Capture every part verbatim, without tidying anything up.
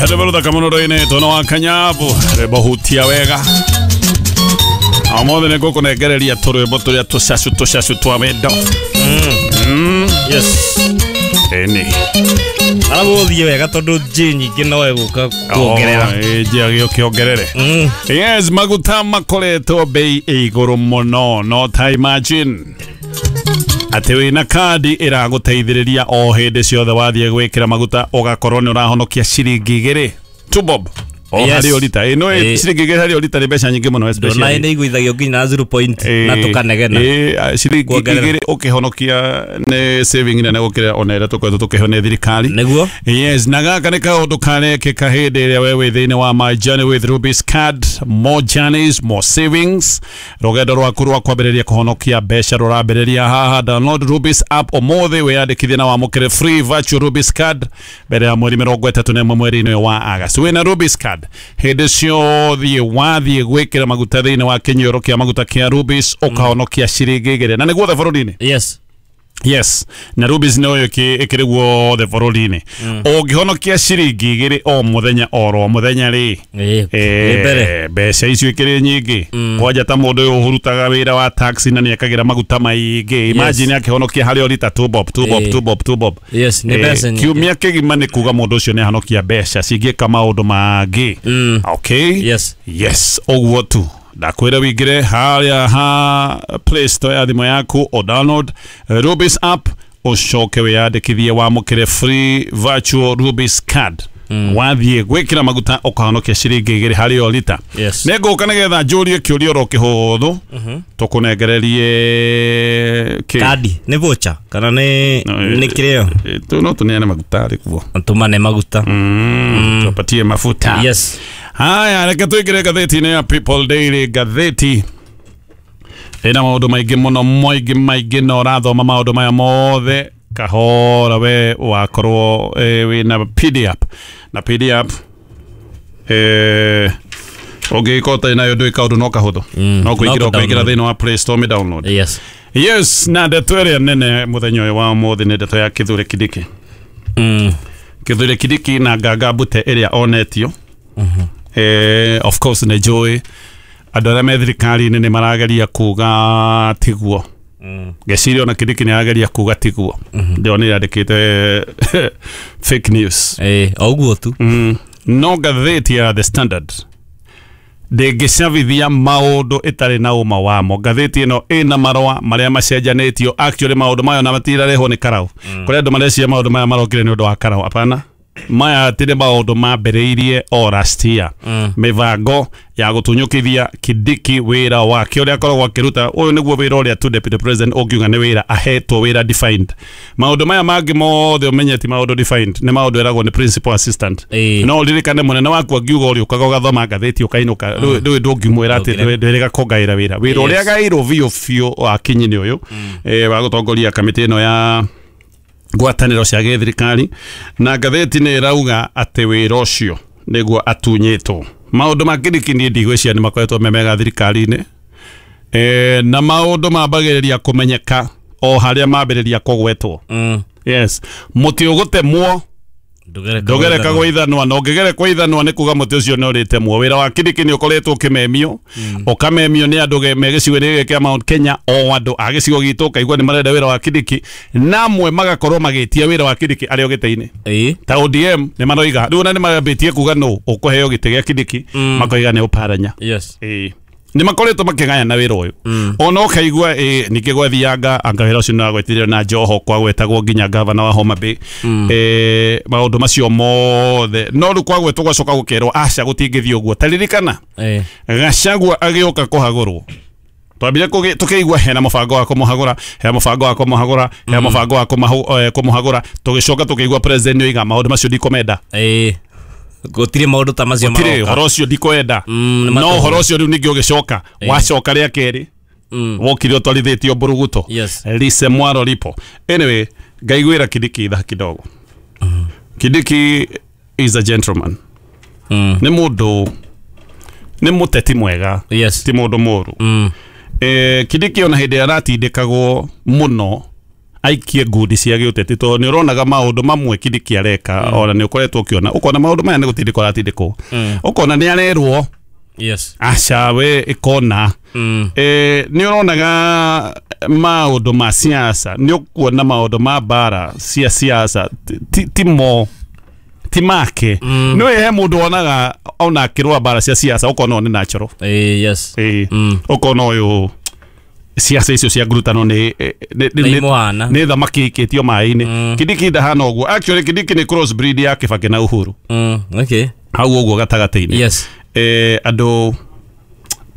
Rwĩmbo rũthaka mũno rũinĩtwo na wa Kanyabu, rwĩmbo hutia wega. Omothe nĩ ngũkũnengereria tũrwĩmbo tũrĩa tũcacu tũcacu twa wendo. Mm. Yes. Ĩni. Aragũthiĩ wega tondũ njĩ nyingĩ no egũka kuongerera. Ĩ njĩ agĩũke ongerere. Yes, maguta makoretwo bei igũrũ mũno, no ta imagine atĩ wĩna kandi ĩragũteithĩrĩria o hĩndĩ ciothe wathiĩ gwĩkĩra maguta ũgakorwo nĩ ũrahonokia ciringi igĩrĩ two bob o Yes. harĩ o rita. Ĩ no Ĩ. ciringi igĩrĩ harĩ o rita nĩ mbeca nyingĩ mũno especially. Ndona nĩ iguithagio nginya na zero point na tũkanegena. Ĩ ciringi Kuongerera. igĩrĩ ũkĩhonokia nĩ saving nene gũkĩra ona ĩrĩa tũkoretwo tũkĩheo nĩ thirikari. Nĩguo? Yes, na gaka nĩ kaũndũ karekĩka hĩndĩ ĩrĩa we wĩ thĩinĩ wa My Journey with Rubis card, more journeys, more savings. Rũgendo rwaku rwa kwambĩrĩria kũhonokia mbeca rũrambĩrĩria haha. Download Rubis app ũmũthĩ wĩyandĩkithie na wamũkĩre free virtual Rubis card mbere ya mweri mĩrongo ĩtatũ na ĩmwe mweri-inĩ ũyũ wa August. Wĩna Rubis card hĩndĩ ciothe wathiĩ gwĩkĩra maguta thĩinĩ wa kĩnyuĩro kĩa maguta kĩa Rubis ũkahonokia ciringi igĩrĩ na nĩ guothe bũrũri-inĩ. Yes. Yes, na Rubis no ĩkĩrĩ guothe bũrũri-inĩ. Ũngĩhonokia ciringi igĩrĩ o mũthenya oro mũthenya rĩ, Ĩ, nĩ mbere. mbeca icio ikĩrĩ nyingĩ. Kwanja ta mũndũ ũyũ ũhurutaga wĩra wa taxi na nĩekagĩra maguta maingĩ. Imagine akĩhonokia harĩ o rita two bob, two bob, Ĩ. two bob, two bob. Yes, nĩ Eh, mbeca nyingĩ. Kiumia kĩgima nĩ kuga mũndũ ũcio nĩ ahonokia mbeca cingĩka maũndũ mangĩ. Mm. Okay? Yes. Yes, ũguo tu. Ndakwĩra wĩingĩre harĩa ha Play Store ya thimũ yaku o download Rubis app ũcoke wĩyandĩkithie wamũkĩre free virtual Rubis card. Wathiĩ gwĩkĩra maguta ũkahonokia ciringi igĩrĩ harĩ o rita. Yes. Nĩ ngũka nĩgetha njũrie kĩũria oro kĩhũthũ tũkũnengererie kĩ? Kandi nĩ voucher kana nĩ No, eh, nĩ kĩrĩo? Eh, tu no tũneane maguta rĩ kuo. Tũmane maguta. Mm. Tupatie mafuta. Yes. Haya, reke tũingĩre ngathĩti-inĩ ya People Daily. Ngathĩti ĩna maũndũ maingĩ mũno, maingĩ maingĩ, na ũrathoma maũndũ maya mothe kahora we wakorwo eh, wĩna P D app na P D app eh, ũngĩgĩkorwo ũtarĩ nayo ndũĩ kaũndũ no kahũthũ. Mm. No kũingĩra No ũkaingĩra kũ-download. thĩinĩ wa Play Store mĩ download. Yes. Yes, na ndeto ĩrĩa nene mũthenya ũyũ wa ũmũthĩ nĩ ndeto ya Kithure Kindiki. Mm. Kithure Kindiki na Nganga Mbute ĩrĩa onetio. Eh, of course nĩ njũĩ andũ arĩa me thirikari-inĩ nĩ marageria kuga tiguo. Mm. Ngeciria ona Kindiki nĩ arageria kuga tiguo. Ndĩronire andĩkĩte fake news. Ĩ, o ũguo tu. Mm. No ngathĩti ya The Standard ndĩngĩcabithia maũndũ ĩtarĩ na ũma wamo. Ngathĩti ĩno ĩna marũa marĩa macenjanĩtio. Actually maũndũ mayo na matirarehwo nĩ karau. Kũrĩ andũ mareciria maũndũ maya marokire nĩ ũndũ wa karau. Hapana. Maya ti nĩ maũndũ mambĩrĩirie o last year. Mm. Mĩbango ya gũtunyũkithia Kindiki wĩra wake ũrĩa akoragwo akĩruta. Ũyũ nĩguo wĩra ũrĩa tu deputy president ũngiuga nĩ wĩra ahetwo, wĩra defined. Maũndũ maya mangĩ mothe ũmenye ti maũndũ defined, nĩ maũndũ ĩragwo nĩ principal assistant. Ĩ. No ũririkane mũnene waku angiuga ũrĩa ũkaga ũgathoma ngathĩti ũkainũka, rĩu rĩu ndũngĩmwĩra atĩ Ndũngĩrega. ndwĩrĩga kũngaĩra wĩra. Wĩra ũrĩa Yes. agaĩirwo biũ biũ wa Kinyi nĩ ũyũ, eh, wa gũtongoria kamĩtĩ ĩno ya ngwatanĩro cia gĩthirikari, na ngathĩti nĩ ĩrauga atĩ wĩra ũcio nĩguo atunyĩtwo. Maũndũ ma Kindiki niĩ ndigwĩciria nĩ makoretwo me mega thirikari-inĩ. Eh, na maũndũ mambagĩrĩria kũmenyeka o harĩa mambĩrĩria kũgwetwo. Mm. Yes, mũtĩ ũgũtemwo Ndũgereka ndũgereka gwĩthanwa. gwĩthanwa, na ũngĩgereka gwĩthanwa nĩ kuga mũtĩ ũcio nĩ ũrĩtemwo. Wĩra wa Kindiki nĩ ũkoretwo ũkĩmemio, ũkamemio nĩ andũ ge-, me gĩcigo-inĩ gĩkĩ kĩa Mount Kenya, o andũ a gĩcigo gitũ ũkaigua nĩ marenda wĩra wa Kindiki, na amwe magakorwo magĩtia wĩra wa Kindiki arĩ o gĩtĩ-inĩ. Ĩ. Ta O D M nĩ maroiga, rĩu ona nĩ mambĩtie kuga nũ ũkũheo gĩtĩ gĩa Kindiki, Mm. makoiga nĩ Ũparanya. Yes. Ĩ. Nĩ makoretwo makĩgayana wĩra ũyũ. Mm. Ona ũkaigua, ĩ, ningĩ gwathianga, anga wĩra ũcio nĩwagwetirio na Joho, kwagwetagwo nginya gavana wa Homa Bay. Mm. Eh, maũndũ macio mothe. No rĩu kwagwetwo gwacoka gũkerwo, aca gũtingĩthiĩ ũguo. Ta ririkana, Ĩ. Gachagua agĩũka kũhagũrwo. Twambire kũgĩ-, tũkĩigua hena mũbango wa kũmũhagũra, hena mũbango wa kũmũhagũra, hena mũbango wa kũmahu-, eh, kũmũhagũra. Tũgĩcoka tũkĩigua president nĩoiga maũndũ macio ndikomenda. Ĩ. Gũtirĩ maũndũ ta macio Gũtirĩ, maroka. ũhoro ũcio ndikwenda. Mm, nĩ No matũhũ. ũhoro ũcio rĩu ningĩ ũgĩcoka, Ĩ. wacoka rĩa kerĩ, Mm. wokire ũtwarithĩtio mburuguto. Yes. Lise mwaro lipo. Anyway, ngaiguĩra Kindiki tha kidogo. Mm. Kindiki is a gentleman. Mm. Nĩ mũndũ, nĩ mũteti mwega. Yes. Ti mũndũ mũũru. Mm. Eh, Kindiki ona hĩndĩ aratindĩkagwo mũno Aikie ngundi cia gĩũteti tondũ nĩ ũronaga maũndũ mamwe Kindiki areka mm. ona nĩ ũkoretwo ũkĩona ũkona maũndũ maya nĩ gũtindĩkwo aratindĩkwo mm. ũkona nĩ arerwo yes aca we ĩkona mm. e, nĩ ũronaga maũndũ ma siasa nĩ ũkuona maũndũ ma mbara cia siasa ti, ti mo ti make mm. nĩ he mũndũ wonaga ona akĩrũa mbara cia siasa ũkona nĩ natural eh, yes eh, mm. ũkona ũyũ siasa icio cia ngurutano nĩ nĩ thamaki ikĩtio maĩ-inĩ mm. Kindiki ndahana ũguo actually Kindiki nĩ cross breed ya Kibaki na Uhuru mm. okay hau ũguo gatagatĩ-inĩ yes eh, andũ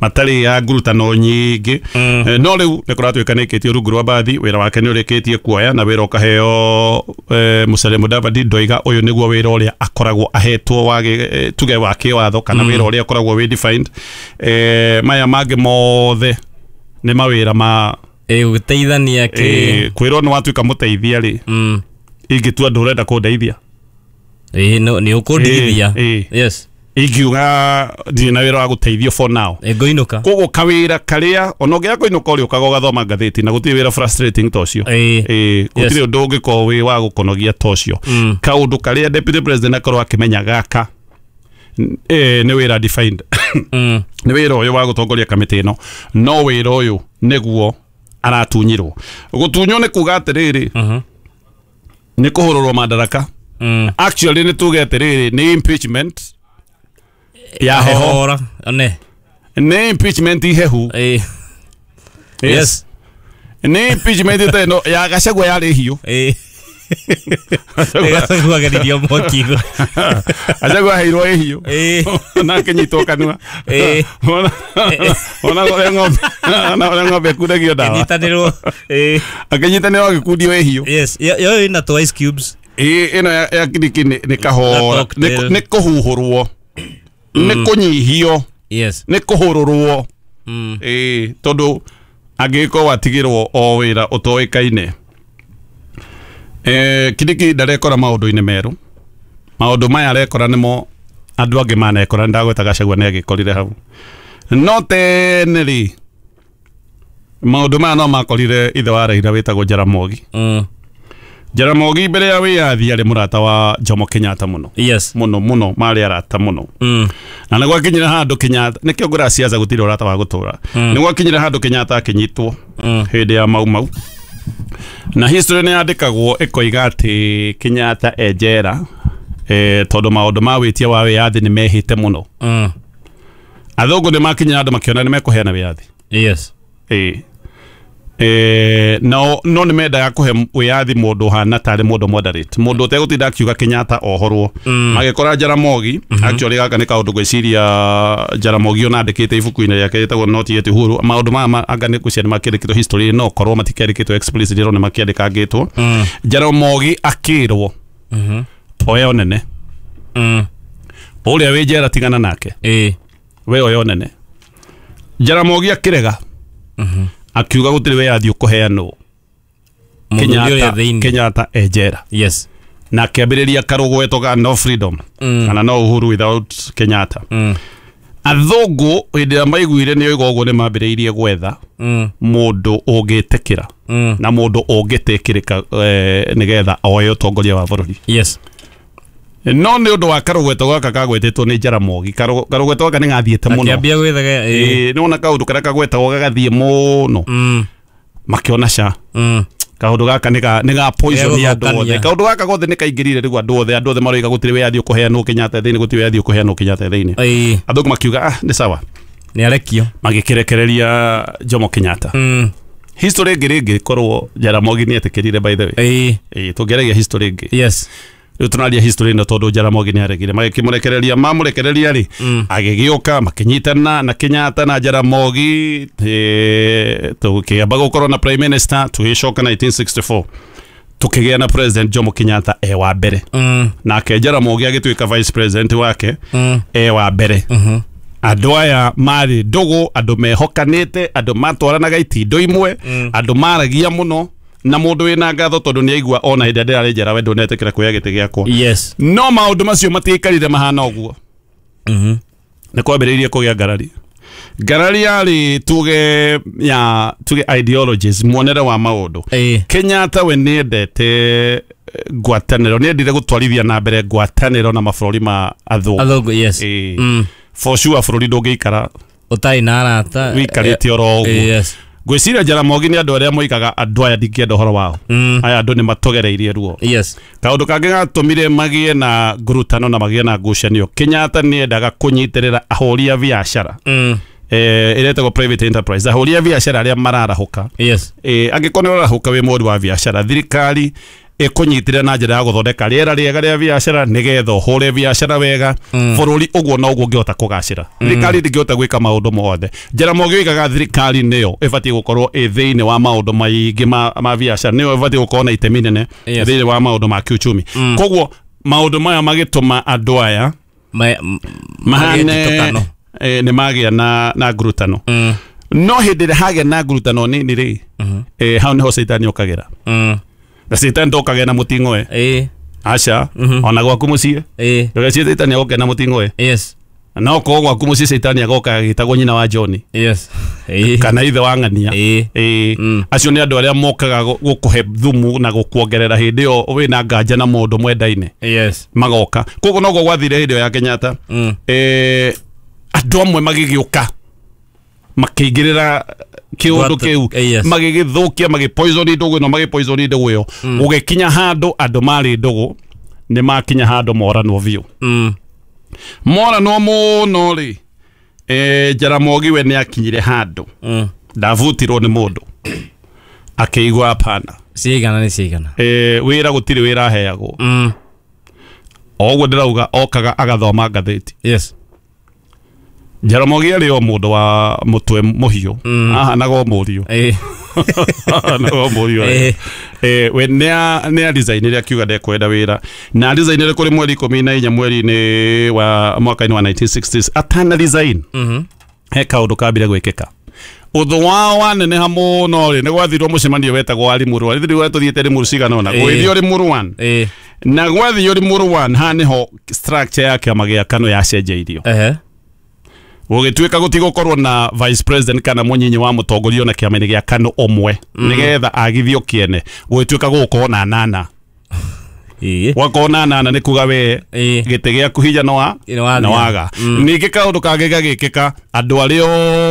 matarĩ ya ngurutano nyingĩ mm. eh, no rĩu nĩ kũratuĩka nĩ ĩkĩtio rungu rwa mbathi wĩra wake nĩ ũrĩkĩtie kuoya na wĩra ũkaheo eh, Musalia Mudavadi ndoiga ũyũ nĩguo wĩra ũrĩa akoragwo ahetwo wa eh, tuge wa kĩwatho kana mm. wĩra ũrĩa ũkoragwo wĩ defined eh, maya mangĩ mothe nĩ mawĩra ma eh gũteithania kĩ eh, kwĩrwo nĩ watuĩka mũteithia rĩ mm. ingĩtua ndũrenda kũndeithia eh no nĩ ũkũndigithia eh, yes ingiuga ndirĩ na wĩra wa gũteithio for now ngũinũka koguo kawĩra karĩa ona ũngĩaga kũinũka ũrĩũkaga ũgathoma ngathĩti na gũtirĩ wĩra frustrating ta ũcio eh gũtirĩ ũndũ ũngĩkorwo wĩ wa gũkonogia ta ũcio mm. kaũndũ karĩa deputy president akorwo akĩmenya gaka eh, nĩ wĩra defined mm. nĩ wĩra ũyũ wa gũtongoria kamĩtĩ ĩno no wĩra ũyũ nĩguo aratunyirwo gũtunywo nĩ kuga atĩrĩrĩ mm -hmm. nĩ kũhũrũrwo madaraka mm. actually nĩ tuge atĩrĩrĩ nĩ impeachment ya heho ne nĩ impeachment ihehu eh. yes nĩ impeachment ta ĩno ya Gachagua yarĩ hiũ eh. Gachagua ageririo mwaki Gachagua aheirwo ĩ hiũ eh. na akĩnyitwo kanua eh. ona ũrĩa ng'ombe ona ũrĩa ng'ombe ĩkundagio ndawa akĩnyitanĩrwo eh. akĩnyitanĩrwo agĩkundio ĩ hiũ yes yo ĩna tũ ice cubes ĩ ĩno ya Kindiki nĩ kahora nĩ kũhuhũrwo nĩ kũnyihio yes nĩ kũhũrũrwo mm. ĩ tondũ angĩgĩkorwo watigĩrwo o wĩra ũtoĩkaine eh, Kindiki ndarekora maũndũ-inĩ merũ maũndũ maya arekora nĩmo andũ angĩ manekora ndagweta Gachagua nĩ agĩkorire hau no tene rĩ maũndũ maya no makorire ithe wa Raila wĩtagwo Jaramogi mm. Jaramogi mbere ya wĩyathi arĩ mũrata wa Jomo Kenyatta mũno yes mũno mũno marĩ arata mũno mm. na nĩ gwakinyire handũ Kenyatta nĩkĩo ngũra siasa gũtirĩ ũrata wa gũtũra mm. nĩ gwakinyire handũ Kenyatta akĩnyitwo mm. hĩndĩ ya Mau Mau na history nĩ yandĩkagwo ĩkoiga atĩ Kenyatta e njera eh, tondũ maũndũ ma wĩtia wa wĩyathi nĩ mehĩte mũno mm. athũngũ nĩ makinyire handũ makĩona nĩ mekũheana wĩyathi yes ĩ eh, no no nĩ mendaga kũhe wĩyathi mũndũ ũhana tarĩ mũndũ moderate mũndũ ũtegũtinda akiuga Kenyatta ohorwo mm. magĩkora Jaramogi mm -hmm. actually gaka nĩ kaũndũ ngwĩciria Jaramogi ona andĩkĩte ibuku-inĩ rĩake rĩtagwo Not Yet Uhuru maũndũ maya anga nĩ ngwĩciria nĩ makĩandĩkĩtwo history no korwo matikĩandĩkĩtwo explicitly no nĩ makĩandĩkangĩtwo mm. Jaramogi akĩrwo mm -hmm. oya ũnene mm. ũrĩa wĩ njera tigana nake eh. we oya ũnene Jaramogi akĩrega mm -hmm. akiuga gũtirĩ wĩyathi ũkũheanwo Kenyatta Kenyatta e njera yes na akĩambĩrĩria karũgweto ga no freedom mm. kana no uhuru without Kenyatta mm. athũngũ hĩndĩ ĩrĩa maiguire nĩ oiga ũguo nĩ mambĩrĩirie gwetha mm. mũndũ ũngĩtĩkĩra mm. na mũndũ ũngĩtĩkĩrĩka eh, nĩgetha oe ũtongoria wa bũrũri yes no nĩ ũndũ wa karũgweto gaka kagwetetwo nĩ Jaramogi karũgweto gaka nĩ gathiĩte mũno akĩambia gwethaga ĩ nĩ wona kaũndũ karĩa kagwetagwo gagathiĩ mũno mm. makĩona ca mm. kaũndũ gaka nĩ ga nĩ ga poison ya andũ othe Gegũthũkania. kaũndũ gaka gothe nĩ kaingĩrire rĩu andũ othe andũ othe maroiga gũtirĩ wĩyathi ũkũheanwo Kenyatta thĩinĩ gũtirĩ wĩyathi ũkũheanwo Kenyatta thĩinĩ ĩ athũngũ makiuga ah nĩ sawa nĩ arekio magĩkĩrekereria Jomo Kenyatta mm. history ĩngĩ rĩngĩ korwo Jaramogi nĩ etĩkĩrire by the way ĩ ĩ tũngĩaragia history ĩngĩ yes rĩu tũraria history ĩno tondũ Jaramogi nĩ aregire magĩkĩmũrekereria mamũrekereria rĩ mm. agĩgĩũka makĩnyitana na Kenyatta na Jaramogi eh, tũkĩamba gũkorwo na prime minister tũgĩcoka nineteen sixty-four tũkĩgĩa na president Jomo Kenyatta e wa mbere mm. nake Jaramogi agĩtuĩka vice president wake mm. e wa mbere mm -hmm. andũ aya marĩ ndũgũ andũ mehokanĩte andũ matwaranaga itindo imwe Mm. andũ maragia mũno na mũndũ wĩna ngatho tondũ nĩ aigua ona hĩndĩ ĩrĩa ndĩrarĩ njera we ndũnetĩkĩra kuoya gĩtĩ gĩakwa yes no maũndũ macio matiaikarire mahana ũguo mm -hmm. nĩ kwambĩrĩirie kũgĩa ngarari Ngarari yarĩ tuge ya tuge ideologies, muonere wa maũndũ. Kenyatta we nĩendete ngwatanĩro, nĩendire gũtwarithia na mbere ngwatanĩro na mabũrũri ma athũngũ. Athũngũ, yes. Mm. For sure bũrũri ndũngĩikara ũtarĩ na arata, wĩikarĩte oro ũguo. Yes. Ngwĩciria Jaramogi nĩ andũ arĩa moigaga andũ aya ndingĩenda ũhoro wao. Mm. Aya andũ nĩ matogereirie ruo. Yes. Kaũndũ kangĩ gatũmire magĩe na ngurutano na magĩe na ngucanio, Kenyatta nĩendaga kũnyitĩrĩra ahũri a biacara. Mm. Eh, ĩretagwo private enterprise, ahũri a biacara arĩa mararahũka. Yes. Eh, angĩkorwo nĩ ũrarahũka wĩ mũhũri wa biacara, thirikari ĩkũnyitĩrĩra na njĩra ya gũthondeka rĩera rĩega rĩa biacara nĩgetha ũhũre biacara wega. Mm. Bũrũri ũguo noguo ũngĩhota kũgacĩra. Thirikari ndĩngĩhota gwĩka maũndũ mothe. Jaramogi oigaga thirikari nĩyo ĩbatiĩ gũkorwo ĩ thĩinĩ wa maũndũ maingĩ ma, ma biacara, nĩyo ĩbatiĩ gũkorwo na itemi nene Yes. thĩinĩ wa maũndũ ma kiuchumi. Mm. Koguo maũndũ maya magĩtũma andũ aya Ma, mahane magĩtũkano. eh, nĩ magĩa na, na ngurutano. Mm. No hĩndĩ ĩrĩa hagĩa na ngurutano nini rĩ, Mm. eh, hau nĩho caitani okagĩra. Mm. Na caitani ndokagĩa na mũting'oe. Eh. Aca, Mm-hmm. ona gwaku mũciĩ. Eh. Ndũgecirie caitani agoka na mũting'oe. Yes. Na okorwo gwaku mũciĩ caitani agoka agĩtagwo nyina wa John. Yes. Eh. Kana ithe wa ng'ania. Eh. Eh. Mm. Acio nĩ andũ arĩa mokaga gũkũhe thumu na gũkuongerera hĩndĩ ĩyo wĩna nganja na mũndũ mwendaine. Yes. Magoka. Koguo noguo gwathire hĩndĩ ĩyo ya Kenyatta. Mm. Eh, andũ amwe magĩgĩũka makĩingĩrĩra kĩũndũ kĩu, Yes. magĩgĩthũkia, magĩpoison ndũgũ ĩno, magĩpoison ndũgũ ĩyo. Gũgĩkinya handũ andũ marĩ ndũgũ nĩ makinya handũ moranwo biũ. Mm. Moranwo mũno rĩ, eh, Jaramogi we nĩ akinyire handũ Mm. ndabutirwo nĩ mũndũ akĩigua hapana. Cigana nĩ cigana. Eh, wĩra gũtirĩ wĩra aheagwo. Mm. O ũguo ndĩrauga okaga agathoma ngathĩti. Yes. Jaramogi arĩ o mũndũ wa mũtwe mũhiũ. Mm. Ahanaga o mũriũ. Eh. Ahanaga o mũriũ. Eh. Eh, we nĩ nĩ designire akiuga ndekwenda wĩra. Na designire kũrĩ mweri ikũmi na inya mweri-inĩ wa mwaka-inĩ wa nineteen sixties atana design. Mhm. He kaũndũ kambire gwĩkĩka. Ũthũ wao waneneha mũno rĩ, nĩ gwathirwo mũcemanio wetagwo wa Limuru. Rĩu tũthiĩte Limuru cigana ũna. Gwĩthio Limuru one. Eh. Na gwathio Limuru one, haha nĩho structure ya kĩama gĩa KANU yacenjeirio. Ehe. Gũgĩtuĩka gũtigũkorwo na vice president kana mũnyinyi wa mũtongoria na kĩama-inĩ gĩa KANU ũmwe. Mm. Nĩgetha agithio kĩene. Gũgĩtuĩka gũgũkorwo na nana. Ĩĩ. Gwakorwo na nana nĩ kuga we Ĩĩ. gĩtĩ gĩaku hinya no wa Nĩ no waga. Mm. Ningĩ kaũndũ kangĩ gagĩkĩka, andũ arĩa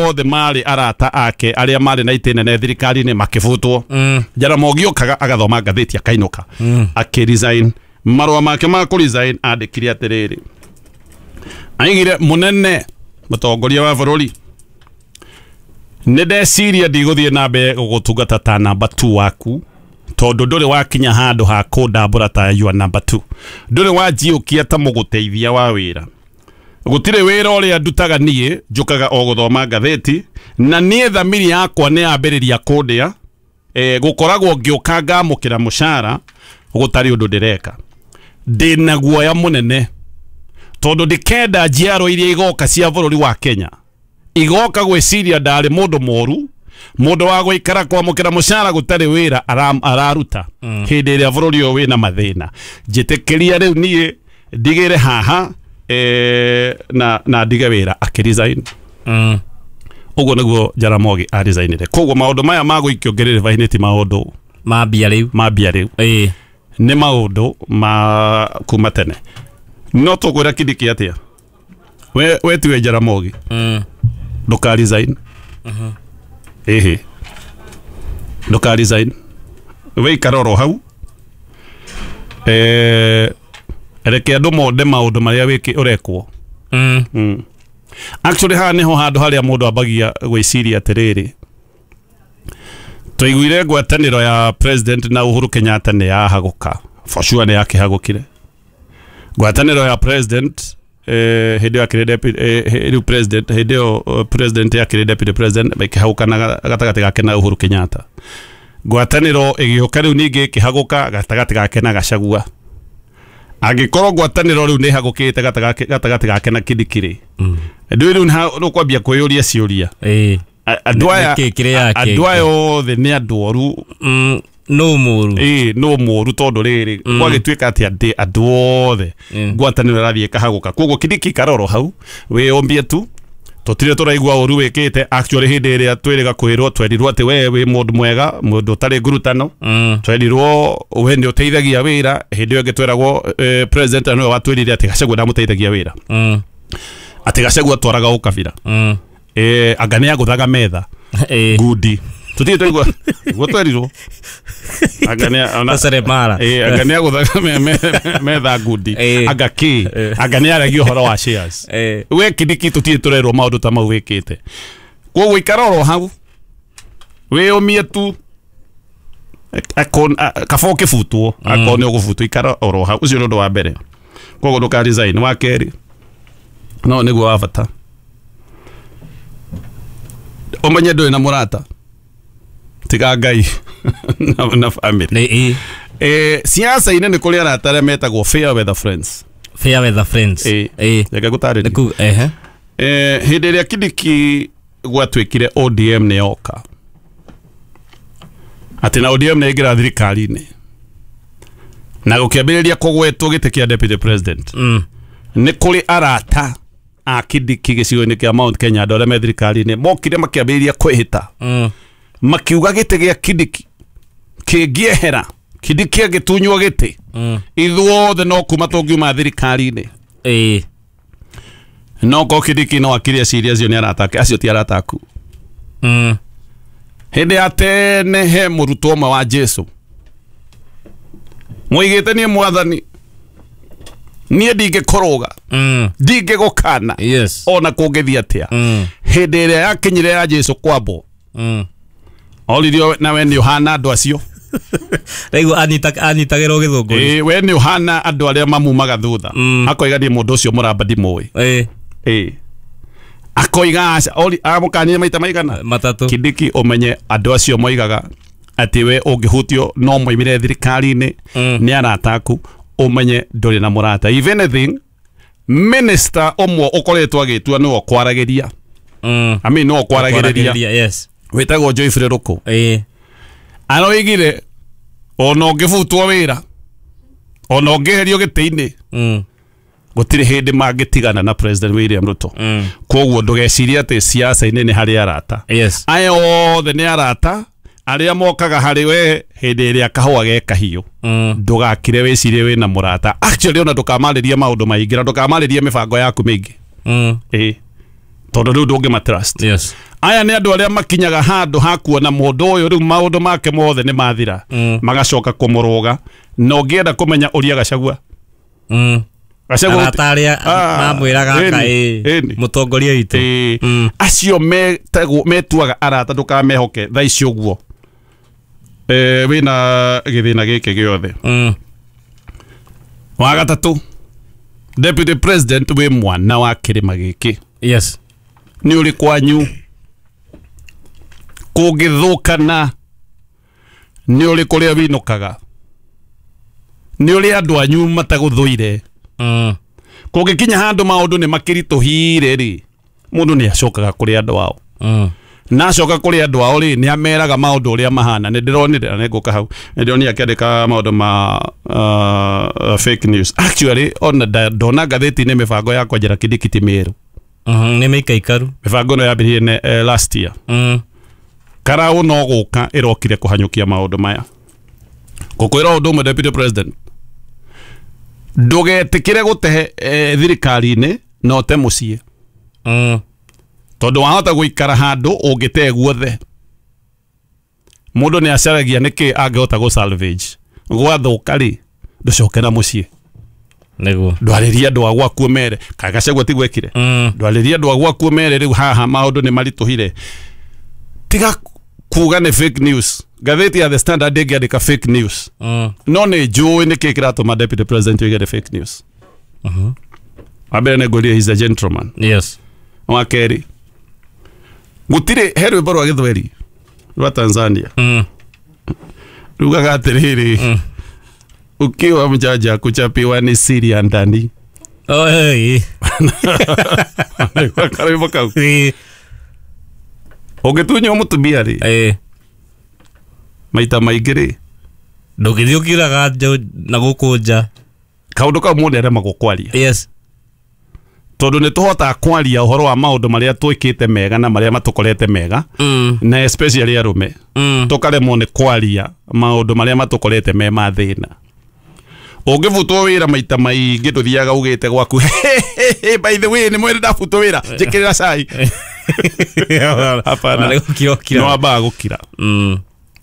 othe marĩ arata ake arĩa marĩ na itĩ nene thirikari-inĩ makĩbutwo. Mm. Jaramogi okaga agathoma ngathĩti akainũka. Mm. Akĩresign. Marũa make ma kũresign andĩkire atĩrĩrĩ, aigire mũnene mũtongoria wa bũrũri, nĩ ndeciria ndigũthiĩ na mbere gũgũtungata ta namba two waku, tondũ ndũrĩ wakinya handũ ha kũndambũra ta your number two, ndũrĩ wanjiũkia ta mũgũteithia wa wĩra, gũtirĩ wĩra ũrĩa ndutaga niĩ, njũkaga o gũthoma ngathĩti, na niĩ thamiri yakwa nĩ yambĩrĩria kũndĩa, eh, gũkoragwo ngĩũka ngamũkĩra mũcara gũtarĩ ũndũ ndĩreka, ndĩna guoya mũnene tondũ ndikenda njiaro iria igoka cia bũrũri wa Kenya igoka gwĩciria ndarĩ mũndũ mũru, mũndũ wa gũikara kwamũkĩra mũcara gũtarĩ wĩra araruta Mm. hĩndĩ ĩrĩa bũrũri ũyũ wĩna mathĩna. Njĩtĩkĩria rĩu niĩ ndigĩre haha, eh, na, na ndige wĩra. Akĩresign. Mm. Ũguo nĩguo Jaramogi aresignire. Koguo maũndũ maya ma gũikio ngĩrĩrĩba-inĩ ti maũndũ ma mbia rĩu, ma mbia rĩu. Ĩĩ. Nĩ maũndũ ma kuma tene. No tũkwĩra Kindiki atĩa? We, we tiwe Jaramogi. Mm. Ndũka resign. Mhm. Ĩhĩ. Ndũka resign. We ikara oro hau. Eh, reke andũ monde maũndũ marĩa wĩkĩ ũrekwo. Mm. Mm. Actually haha nĩho handũ harĩa mũndũ ambagia gwĩciria atĩrĩrĩ, twaiguire ngwatanĩro ya president na Uhuru Kenyatta nĩ yahagũka. For sure nĩ yakĩhagũkire. Ngwatanĩro ya president eh, hĩndĩ ĩyo akĩrĩ deputy, eh, rĩu president, hĩndĩ ĩyo president akĩrĩ deputy president, makĩhagũka na gatagatĩ gake na Uhuru Kenyatta. Ngwatanĩro ĩgĩũka rĩu ningĩ ĩkĩhagũka gatagatĩ gake na Gachagua. Angĩkorwo ngwatanĩro rĩu nĩ ĩhagũkĩte gatagatĩ gake na Kindiki rĩ, Mm. ndũĩ rĩu nĩ ũkwambia kwĩyũria ciũria. Ĩĩ. Andũ aya andũ aya othe nĩ andũ oru. Mm. No mũru. Ĩĩ, no mũru tondũ rĩrĩ Mm. gwagĩtuĩka atĩ andĩ andũ othe Mm. ngwatanĩro ĩrathiĩ ĩkahagũka. Koguo Kindiki karoro hau wĩyũmbie tu Tutire turaigua uru wikite actually hindi iria twiriga kwirwo twerirwo ati we wi mundu mwega mundu utari ngurutano mm. Twerirwo we ni uteithagia wira hindi iyo tweragwo eh, president niwe watwirire ati Gachagua ndamuteithagia wira mm. Ati Gachagua twaraga ukabira mm. eh anga ni aguthaga metha eh ngudi tutire twaigua guo twerirwo anga ni ona seremara eh anga ni aguthaga me, me, metha ngudi Eh. anga ki anga ni aragia uhoro wa shares eh we Kindiki tutire turerwo maundu ta mau wikite koguo ikara oro hau wiyumie tu akon kaba ukibutwo akorwo ni ugubutwo ikara oro hau ucio ni undu wa mbere koguo nduka resign wa keri no niguo wa bata umenye nduri na murata tiga Ngai na, na family ni eh eh siasa-inĩ nĩ kũrĩ arata arĩa metagwo fair weather friends fair weather friends Eh. eh reke ngũtarĩrie niku eh eh hĩndĩ ĩrĩa Kindiki gwatuĩkire O D M nĩ yoka atĩ na O D M nĩ ĩingĩra thirikari-inĩ na gũkĩambĩrĩria kũgwetwo gĩtĩ kĩa deputy president mm. nĩ kũrĩ arata a Kindiki gĩcigo-inĩ kĩa Mount Kenya andũ arĩa me thirikari-inĩ mokire makĩambĩrĩria kwĩhĩta mm. makiuga gĩtĩ gĩa Kindiki kĩngĩehera Kindiki agĩtunywo gĩtĩ mm. ithuothe no kuma tũngiuma thirikari-inĩ eh no ko Kindiki no akire eciria acio nĩ arata ake acio ti arata aku mm. hĩndĩ ya tene he mũrutwo ũmwe wa Jesu mwoigĩte niĩ mwathani niĩ ndingĩkũrũga mm. ndingĩgũkana yes ona kũngĩthiĩ atĩa mm. hĩndĩ ĩrĩa yakinyire ya Jesu kwambwo mm. oririo nawe nĩ ũhana andũ acio rĩu anita anitagĩrwo gĩthũngũri ĩĩ we nĩ ũhana andũ arĩa mamumaga thutha Mm. akoiga niĩ mũndũ ũcio mũramba ndimũĩ eh ĩĩ akoiga aca ori amũkanire maita maigana matatu Kindiki umenye andũ acio moigaga atĩ we ũngĩhutio no moimire thirikari-inĩ Mm. nĩ arata aku umenye ndũrĩ na mũrata if anything minister ũmwe ũkoretwo agĩtua nĩwe ũkwaragĩria mm. I mean nĩwe ũkwaragĩrĩria yes wĩtagwo Joyfrey Ruku eh aroigire ona ũngĩbutwo wĩra ona ũngĩeherio gĩtĩ-inĩ mm. gũtirĩ hĩndĩ mangĩtigana na President William Ruto mm. koguo ndũgecirie atĩ siasa-inĩ nĩ harĩ arata yes aya othe nĩ arata arĩa mokaga harĩ we hĩndĩ ĩrĩa kahũa ge kahiũ mm. ndũgakire wĩcirie wĩna mũrata actually ona ndũkamarĩrie maũndũ maingĩ na ndũkamarĩrie mĩbango yaku mĩingĩ mm. ĩĩ tondũ rĩu ndũngĩma trust yes aya nĩ andũ arĩa makinyaga handũ ha kuona mũndũ ũyũ rĩu maũndũ make mothe nĩ mathira Mm. magacoka kũmũrũga na ũngĩenda kũmenya ũria Gachagua mm. Gachagua arata arĩa Ah, mamwĩraga aka ĩni, ĩ ĩni. mũtongoria witũ Ĩĩ. Mm. acio metagwo metuaga arata ndũkamehoke thaa ici ũguo eh wĩna gĩthĩna gĩkĩ gĩothe mm. wa gatatũ deputy president wĩ mwana wa kĩrĩma gĩkĩ yes nĩ ũrĩ kwanyu kũngĩthũkana nĩ ũrĩ kũrĩa winũkaga nĩ ũrĩ andũ anyu matagũthũire mm. kũngĩkinya handũ maũndũ nĩ makĩritũhire rĩ mũndũ nĩ acokaga kũrĩ andũ ao mm. na acoka kũrĩ andũ ao rĩ nĩ ameraga maũndũ ũrĩa mahana nĩ ndĩronire na nĩngũka hau nĩ ndĩronire akĩandĩka maũndũ ma uh, fake news actually ona nda- ndona ngathĩti-inĩ mĩbango ya kwenjera Kindiki ti mĩerũ mm. nĩ mĩikaikaru mĩbango ĩno yambĩrĩirie ne- eh, last year mm. karaũ no gũka ĩrokire kũhanyũkia maũndũ maya ngũkwĩra ũndũ ũmwe deputy president ndũgetĩkĩre gũtehe eh, thirikari-inĩ na ũte mũciĩ mm. tondũ wahota gũikara handũ ũngĩte guothe mũndũ nĩ acaragia nĩkĩ angĩhota gũ salvage gwathũka rĩ ndũcoke na mũciĩ nĩguo ndwarĩria andũ a gwaku mere kaĩ Gachagua ti gwekire mm. ndwarĩria andũ a gwaku mere rĩu haha maũndũ nĩ maritũhire tiga kuga nĩ fake news ngathĩti ya The Standard ĩngĩandĩka fake news mm. no nĩ njũĩ nĩkĩ kĩratũma deputy president oige nĩ fake news mm-hmm. wa mbere nĩ ngwĩrire he's a gentleman yes wa kerĩ gũtirĩ he rwĩmbo rwa gĩthweri rwa Tanzania mm. rugaga atĩrĩrĩ Mm. ukiwa mjanja kuchapiwa ni siri ya ndani oh, hey. karwĩmbo kau hey. ũngĩtunywo mũtumia rĩ hey. maita maingĩ rĩ ndũngĩthiĩ ũkiuraga na gũkũ nja kaũndũ kau mũndũ aremagwo kwaria yes Tondu nĩ tũhotaga kwaria ũhoro wa maũndũ marĩa twĩkĩte mega na marĩa matũkorete mega, Mm. na especially arũme, Mm. tũkaremwo nĩ kwaria maũndũ marĩa matũkorete me ma thĩna. Ũngĩbutwo wĩra maita maingĩ ndũthiaga ugĩte gwaku, "By the way, nĩ mwĩrĩ ndabutwo wĩra, njĩkĩrĩra cai." Hapana. Nĩ gũkira ũkira. No ambaga gũkira. Mm.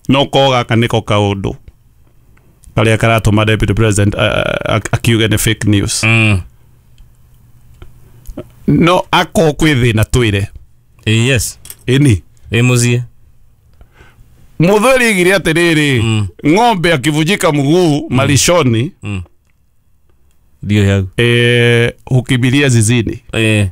No ko gaka nĩko kaũndũ karĩa karatũma deputy president uh, akiuge nĩ fake news. Mm. No ako kwĩ thĩna twĩre. Eh, yes. Ĩni. Ĩ mũciĩ. Mũthuri igire atĩrĩrĩ, Mm. ng'ombe akivunjika mguu malishoni, Mm. Ndio hau. eh, hukimbilia zizini. Eh.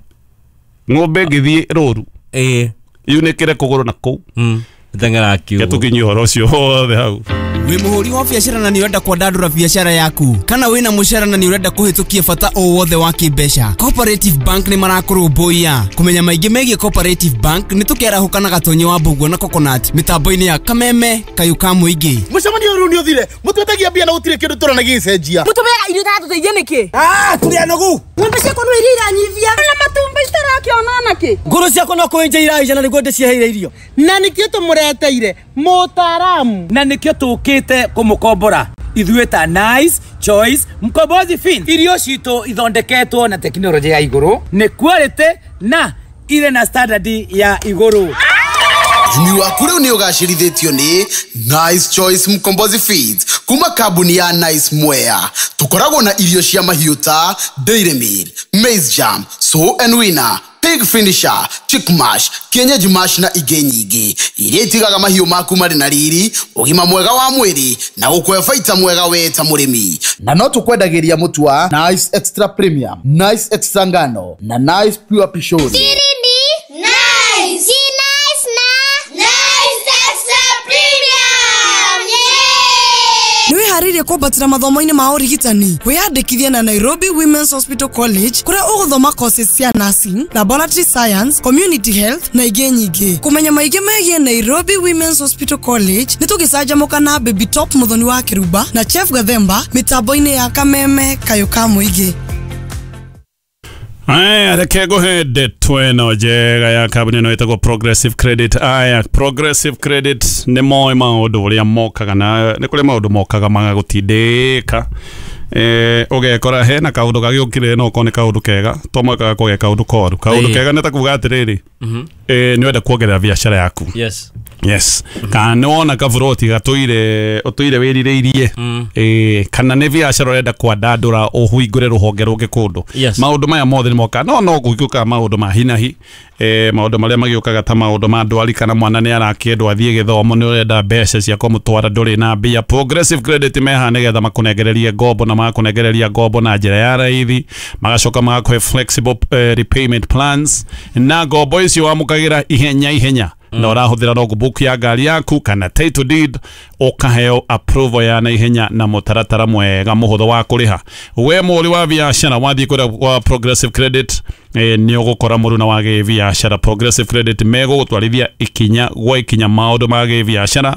Ng'ombe ĩngĩthiĩ rũru Eh. yunĩkĩre kũgũrũ na kũu. Mm. Tengera kiugo. Tũkinyie ũhoro ũcio wothe hau. Wĩ mũhũri wa biacara na nĩ ũrenda kwandandũra biacara yaku, kana wĩna mũcara na nĩ ũrenda kũhĩtũkia bata o wothe wa kĩmbeca, Cooperative Bank nĩ marakũrũmbũiya. Kũmenya maingĩ megiĩ Cooperative Bank nĩ tũkĩarahũka na Gatonyi wa Mbũguo na Coconut mĩtambo-inĩ ya Kameme Kayũ ka Mũingĩ. Mũcemanio ũyũ rĩu nĩ ũthire, mũtwetagia mbia na gũtirĩ kĩndũ tũrona gĩgĩcenjia. Mũtũmeaga irio itatũteithia nĩkĩ? Ah, tũrĩ anogu. Ng'ombe ciakwa no iria iranyivia na matumbĩ citarakĩona nakĩ. Ngũrũ ciakwa no kũenja iraija na nĩguo ndĩciheire irio. Na nĩkĩo tũmũreteire mũtaaramu. Na nĩkĩo tũkĩte kũmũkombora ithuĩ ta Nice Choice Mkombozi Fin. Irio citũ ithondeketwo na tekinoronjĩ ya igũrũ, nĩ quality na irĩ na standard ya igũrũ. Ũrĩmi waku rĩu nĩ ũgacĩrithĩtio nĩ Nice Choice Mkombozi Feeds kuma kambuni ya Nice Mwea. Tũkoragwo na irio cia mahiũ ta Dairy Meal, Maize Jam, Sow and Winner, Pig Finisher, Chick Mash, Kienyeji Mash na ingĩ nyingĩ iria itigaga mahiũ maku marĩ na riri, ũgima mwega wa mwĩrĩ na gũkũhe baita mwega we ta mũrĩmi. Na no tũkwendagĩria mũtu wa Nice Extra Premium, Nice Extra Ngano na Nice Pure Pishori. Siri ni Nice. Si Nice na Nice Extra Premium. Yeah! Nĩ wĩharĩirie kwambatĩra mathomo-inĩ ma ũrigitani? Wĩyandĩkithie na Nairobi Women's Hospital College kũrĩa ũgũthoma courses cia nursing, laboratory science, community health na ingĩ nyingĩ. Kũmenya maingĩ megiĩ Nairobi Women's Hospital College nĩ tũgĩcanjamũka na Baby Top Mũthoni wa Kĩrumba na Chef Gathemba mĩtambo-inĩ ya Kameme Kayũ ka Mũingĩ. Aya, reke ngũhe ndeto ĩno njega ya kambuni ĩno ĩtagwo Progressive Credit. Aya, Progressive Credit nĩ moĩ maũndũ ũrĩa mokaga, na nĩ kũrĩ maũndũ mokaga magagũtindĩka, eh, ũgekora hena kaũndũ gagĩũkire no okorwo nĩ kaũndũ kega to mũhaka gakorwo ge kaũndũ koru. Kaũndũ Ĩĩ. kega nĩ ta kuga atĩrĩrĩ, Mhm. eh, nĩ ũrenda kuongerera biacara yaku. Yes. Yes. Kana nĩ wona kaburoti gatũire ũtũire wĩrirĩirie, Mm. eh, kana nĩ biacara ũrenda kwandandũra ũhingũre rũhonge rũngĩ kũndũ. Yes. Maũndũ maya mothe nĩ mokaga, no no gũgĩũkaga maũndũ ma hinahi, eh, maũndũ marĩa magĩũkaga ta maũndũ ma ndwari, kana mwana nĩ arakĩendwo athiĩ gĩthomo, nĩ ũrenda mbeca cia kũmũtwara ndũrĩ na mbia. Progressive Credit meha nĩgetha makũnengererie ngombo, na magakũnengereria ngombo na njĩra ya raithi, magacoka magakũhe flexible eh, repayment plans, na ngombo icio wamũkagĩra ihenya ihenya na ũrahũthĩra logbook ya ngari yaku kana title deed, ũkaheo approval ya naihenya na mũtaratara mwega mũhũthũ wa kũrĩha. We mũhũri wa biacara wathiĩ kũrĩa kwa Progressive Credit, eh, nĩ ũgũkora mũruna wa gĩbiacara. Progressive Credit megũgũtwarithia ikinya gwa ikinya maũndũ ma gĩbiacara.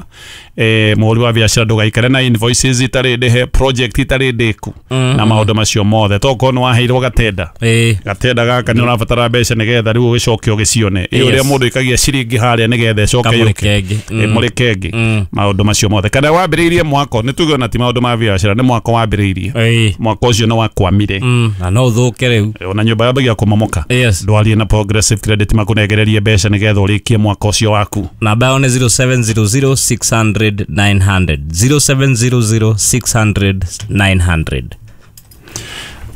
Eh, mũhũri wa biacara ndũgaikare na invoices itarĩ ndĩhe, project itarĩ ndĩku, na maũndũ macio mothe. Tokorwo nĩ waheirwo gatenda, Eh. gatenda gaka nĩ ũrabatara mbeca nĩgetha rĩu ũgĩcoke ũgĩcione. Ĩ ũrĩa Yes. mũndũ ikagia ciringi harĩa nĩgetha ĩcoke Kamũrĩ yũke. kengĩ. Ĩ, Mm. mũrĩ kengĩ. Mm. Maũndũ macio mothe. Kana wambĩrĩirie mwako, nĩ tuge ona ti maũndũ ma biacara, nĩ mwako wambĩrĩirie. Ĩĩ. Mwako ũcio nĩ wakwamire. Mm. Na no ũthũke rĩu. Ona nyũmba yambagia kũmomoka. Yes. Ndwarie na Progressive Credit makũnengererie mbeca nĩgetha ũrĩkie mwaka ũcio waku. Namba yao nĩ zero seven zero zero six hundred nine hundred. zero seven zero zero six hundred nine hundred.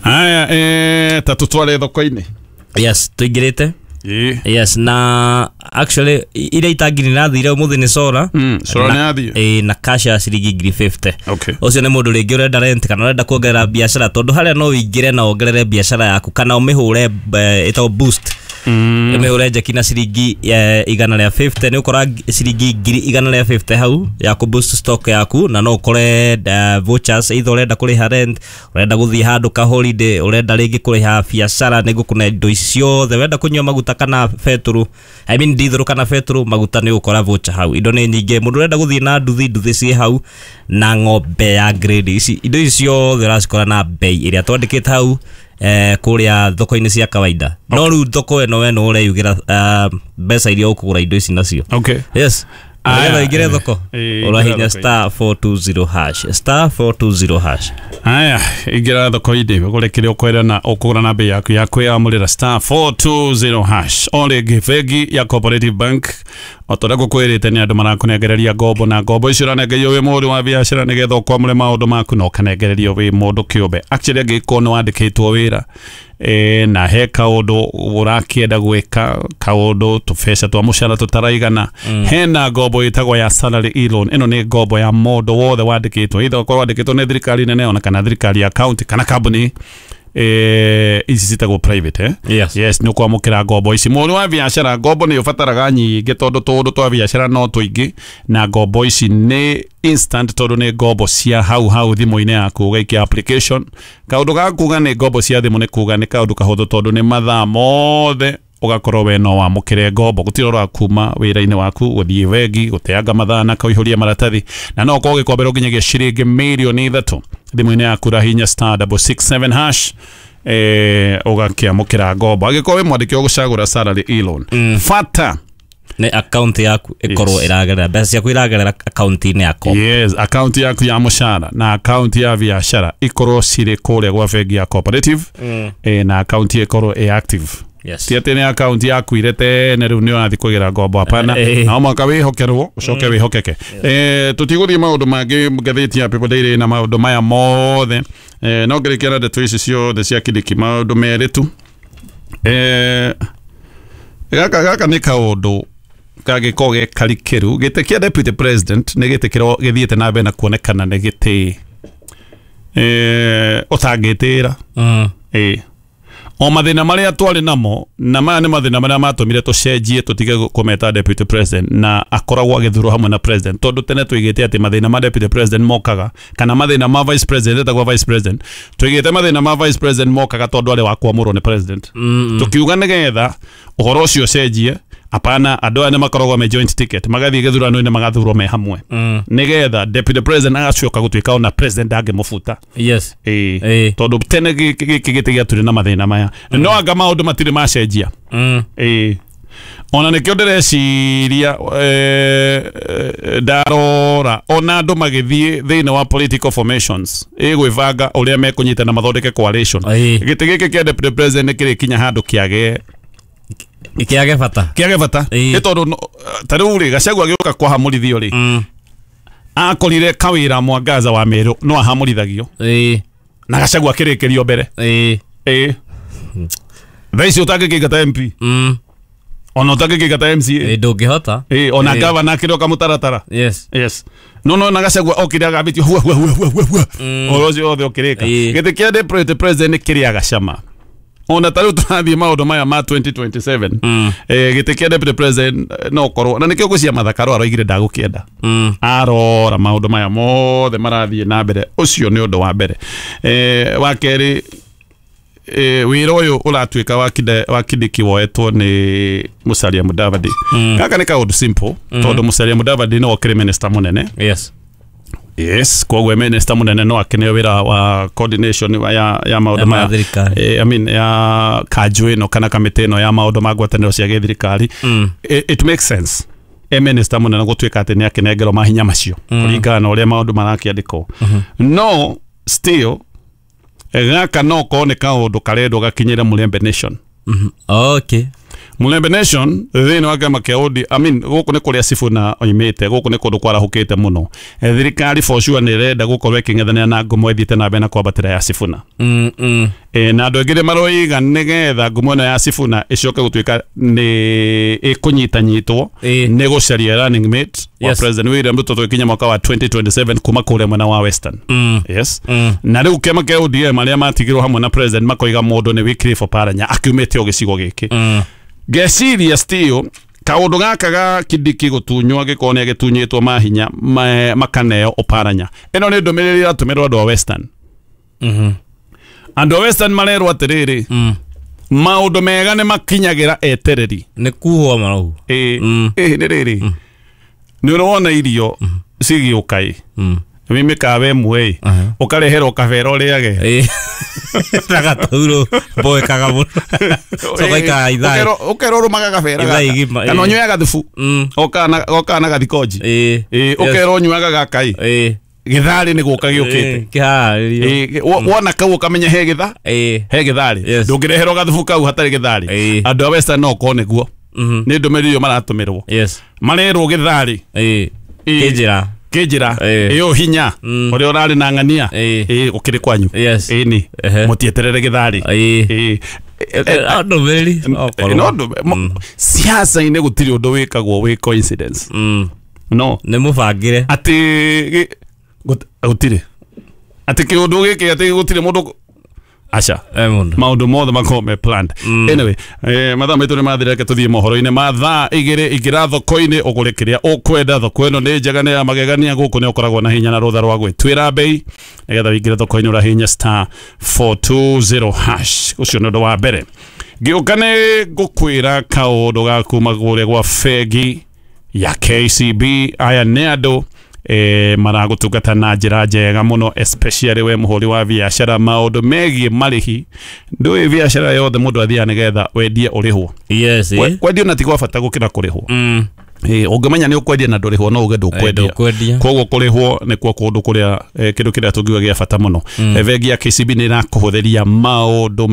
Aya, eh, ta tũtware thoko-inĩ. Yes, tũingĩrĩte. Ĩĩ. Yes, na actually iria itangiri nathire ũmũthĩ nĩ Sora. Mm, Sora Na- nĩ athiĩ? Ĩĩ, na cash ya ciringi ngiri fifty. Okay. Ũcio nĩ mũndũ rĩngĩ ũrenda rent kana ũrenda kuongerera biacara, tondũ harĩa no ũingĩre na wongerere biacara yaku kana ũmĩhũre, eh, ĩtagwo boost. Ĩmĩhũre njeki na ciringi, eh, igana rĩa fifty, nĩ ũkora ciringi ngiri igana rĩa fifty hau ya kũ boost stock yaku, na no ũkore, eh, vouchers, either ũrenda kũrĩha rent, ũrenda gũthiĩ handũ ka holiday, ũrenda rĩngĩ kũrĩha biacara, nĩ ngũkũne indo ici ciothe, ũrenda kũnyua maguta kana betũrũ, I mean diesel kana betũrũ, maguta nĩ ũgũkora voucher hau. Indo nĩ nyingĩ, mũndũ ũrenda gũthiĩ na nduthi, nduthi ciĩ hau, na ng'ombe ya grade ici, indo ici ciothe ũracikora na bei ĩrĩa twandĩkĩte hau eh kuria thoko-inĩ cia kawaida. No rĩu thoko ĩno we no ũreyugĩra mbeca iria ũkũgũra indo ici nacio. Okay. Yes. Aya, ingire thoko ũrahinya star four two zero hash star four two zero hash. Aya, ingĩra thoko-inĩ ũgũre kĩrĩa ũkwenda na ũkũgũra na bei yaku ya kwĩyamũrĩra star four two zero hash. O rĩngĩ bengi ya Cooperative Bank o ta ũrĩa ngũkwĩrĩte nĩ andũ marakũnengereria ngombo na ngombo icio ũranengerio wĩ mũhũri wa biacara nĩgetha ũkwamũre maũndũ maku na ũkanengererio wĩ mũndũ kĩũmbe. Actually angĩkorwo nĩ wandĩkĩtwo wĩra e, na he kaũndũ ũrakĩenda gwĩka kaũndũ tũbeca twa mũcara tũtaraigana, mm. hena ngombo ĩtagwo ya salary e-loan. Ĩno nĩ ngombo ya mũndũ wothe wandĩkĩtwo, either ũkorwo wandĩkĩtwo nĩ thirikari nene ona kana thirikari ya county kana kambuni eh ici citagwo private eh? Yes. Yes, nĩ ũkwamũkĩra ngombo ici. Mũhũri wa biacara ngombo nĩ ũbataraga nyingĩ tondũ tũũndũ twa biacara no tũingĩ, na ngombo ici nĩ instant tondũ nĩ ngombo cia hau hau thimũ-inĩ yaku ũgaikia application. Kaũndũ ga kuga nĩ ngombo cia thimũ nĩ kuga nĩ kaũndũ kahũthũ tondũ nĩ mathaa mothe ũgakorwo we no wamũkĩre ngombo, gũtirĩ ũra kuma wĩra-inĩ waku gũthiĩ bengi gũteanga mathaa na kũihũria maratathi, na no ũkorwo ũgĩkomberwo nginyagia ciringi mirioni ithatũ thimũ-inĩ yaku. Rahinya star double six seven hash eh ũgakĩamũkĩra ngombo. Angĩkorwo wĩ mwandĩki ũgũcagũra salary e-loan, mm. fata nĩ account yaku ĩkorwo ĩragerera mbeca ciaku iragerera account-inĩ yaku. Yes, account yaku ya mũcara na account ya biacara ikorwo cirĩ kũrĩa gwa bengi ya Cooperative, mm. eh, na account ĩkorwo ĩ active. Yes. Ti atĩ nĩ account yaku irete rĩu nĩ ũrathiĩ kũgĩra ngombo, hapana. Na mwaka wĩhokerwo ũcoke wĩhokeke. Eh tũtigũthiĩ maũndũ mangĩ ngathĩti ya People Daily na maũndũ maya mothe. Eh no ngĩrĩkia na ndeto ici ciothe cia Kindiki maũndũ merĩ tu. Eh gaka gaka nĩ kaũndũ kangĩkorwo ge karikĩru. Gĩtĩ kĩa deputy president nĩ gĩtĩ kĩro gĩthiĩte na mbere na kuonekana nĩ gĩtĩ eh ũtangĩtĩra. Mm. Eh o mathĩna marĩa twarĩ namo na maya nĩ mathĩna marĩa matũmire tũcenjie tũtige kũmeta deputy president na akoragwo agĩthurwo hamwe na president, tondũ tene tũigĩte atĩ mathĩna ma deputy president mokaga kana mathĩna ma vice president etagwo vice president, tũigĩte mathĩna ma vice president mokaga tondũ arĩ wa kwamũrwo nĩ president. mm -mm. Tũkiuga nĩgetha ũhoro ũcio ũcenjie, apana, andũ aya nĩ makoragwo me joint ticket magathiĩ gĩthurano-inĩ magathurwo me hamwe, mm. nĩgetha deputy president agacoka gũtuĩka ona president ndangĩmũbuta. Yes. Ĩĩ, tondũ tene gĩkĩ gĩtĩ gĩatũrĩ na mathĩna maya, mm. no anga maũndũ matirĩ macenjia. Mm. Ĩĩ, ona nĩkĩo ndĩreciria ndarora ona andũ magĩthiĩ thĩinĩ wa political formations ĩgwĩbanga ũrĩa mekũnyitana mathondeke coalition. Gĩtĩ gĩkĩ kĩa deputy president nĩ kĩrĩkinya handũ kĩage ikiage bata kiage bata nĩ tondũ ta rĩu rĩ Gachagua agĩũka kwahamũrithio rĩ, mm. akorire kawĩra Mwangaza wa Meru no ahamũrithagio na Gachagua akĩrĩkĩrio mbere. Ĩĩ. Ĩĩ. Thaa ici ũtangĩkĩingata M P, mm. ona ũtangĩkĩingata M C A ĩĩ ndũngĩhota. Ĩĩ, ona gavana akĩroka mũtaratara. Yes. Yes. No no na Gachagua okire agambĩtio hua hua hua hua hua ũhoro ũcio wothe ũkĩrĩka. Gĩtĩ kĩa deputy president nĩ kĩrĩaga cama. Ona ta rĩu tũrathiĩ maũndũ maya ma twenty twenty-seven, mm. eh gĩtĩ kĩa deputy president no korwo na nĩkĩo ngwĩciria Martha Karua aroigire ndagũkĩenda, mm. arora maũndũ maya mothe marathiĩ na mbere. Ũcio nĩ ũndũ wa mbere. Eh wa kerĩ, eh wĩra ũyũ ũratuĩka wa kide wa Kindiki woetwo nĩ Musalia Mudavadi. mm. Gaka nĩ kaũndũ simple, mm. tondũ Musalia Mudavadi no okĩrĩ minister mũnene. Yes. Yes, koguo minister munene no akeneo wira wa coordination ya ya maundu ma thirikari. I mean ya kanju ino kana kamite ino ya maundu ma ngwataniro cia githirikari. Mm. It, it makes sense e minister munene gutuika ati ni akinengerwo mahinya macio mm. kuringana na uria maundu marakiandikwo. Mm -hmm. No still gaka no ko ni kaundu karendwo gakinyire Mulembe Nation. Mm -hmm. Okay. Mulembe Nation thĩinĩ wa kĩama kĩa O D M, I mean gũkũ nĩ kũrĩa Sifuna oimĩte, gũkũ nĩ kũndũ kwarahũkĩte mũno. Thirikari for sure nĩ ĩrenda gũkorwo ĩkĩng'ethanĩra na ngumo ĩthiĩte na mbere na kwambatĩra ya Sifuna. Mm, mm. E, na andũ aingĩ nĩ maroiga nĩgetha ngumo ĩno ya Sifuna ĩcoke gũtuĩka nĩ ĩkũnyitanyitwo nĩ gũcaria running mate wa Yes. President William Ruto tũgĩkinya mwaka wa twenty twenty-seven kuma kũrĩa mwena wa Western. Mm. Yes. Mm. Na rĩu kĩama kĩa O D M arĩa matigirwo hamwe na President makoiga mũndũ nĩ Wycliffe Oparanya akiumĩte o gĩcigo gĩkĩ. Mm. Ngeciria still kaundu gaka ga Kindiki gutunywo angikorwo ni agitunyitwo mahinya makaneo Oparanya ino ni ndumiriri iratumirwo andu a Western. Mhm. Andu a Western marerwo atiriri, mm. maundu mega ni makinyagira etereri ni kuhwo marau eh mm. eh ni riri mm. ni urona irio mm. cigiuka i mm. Nĩ mĩkawa ĩmwe ĩ ũkareherwo kabera ũrĩage na gatauro mboekaga mũno coka ithaa ũkerwo ũrũmaga gabera Ithaa igima, kana ĩ. ũnyuaga thubu ũkana na gathikoji ĩ ũkerwo ũnyuaga gaka ĩ gĩtharĩ nĩ gũka gĩũkĩte kĩharĩrio Ĩ, wo- wona kau ũkamenya he gĩtha he gĩtharĩ ndũngĩreherwo gathubu kau hatarĩ gĩtharĩ andũ a Western no okorwo nĩguo nĩ ndũmĩrĩri ĩyo maratũmĩrwo yes marerwo gĩtharĩ kĩnjĩra kĩnjĩra ĩyo hinya ũrĩa ũrarĩ na ng'ania ĩ ũkĩrĩ kwanyu ĩni mũtieterere gĩtharĩ Ĩ. ndũmĩrĩri No ndũmĩ- mo- siasa-inĩ gũtirĩ ũndũ wĩkagwo wĩ coincidence no nĩ mũbangĩre atĩ gĩ- gut- gũtirĩ atĩ kĩũndũ gĩkĩ atĩ gũtirĩ mũndũ aca maũndũ mothe makorwo me planned anyway eh, mathaa maitũ nĩ mathira reke tũthiĩ mohoro-inĩ ma thaa igĩrĩ ingĩra thoko-inĩ ũgũre kĩrĩa ũkwenda thoko ĩno nĩ njega nĩ ya magegania gũkũ nĩ ũkoragwo na hinya na rũtha rwa gwĩtuĩra mbei nĩgetha wĩingĩre thoko-inĩ ũrahinya star four two zero hash ũcio nĩ ũndũ wa mbere ngĩũka nĩ ngũkwĩra kaũndũ ga kuma kũrĩa gwa bengi ya K C B aya nĩ andũ eh, maragũtungata na njĩra njega mũno especially we mũhũri wa biacara maũndũ megiĩ marĩhi ndũĩ biacara yothe mũndũ athiaga nĩgetha wendie ũrĩhwo yes Kwe- kwendio na ti gwa bata gũkĩra kũrĩhwo ĩ ũngĩmenya nĩ ũkwendia na ndũrĩhwo no uge ndũkwendia ndũkwendia. koguo kũrĩhwo nĩkuo kũndũ kũrĩa eh, kĩndũ kĩrĩa tũngiuga gĩa bata mũno Mm. Eh, bengi ya K C B nĩ ĩrakũhũthĩria maũndũ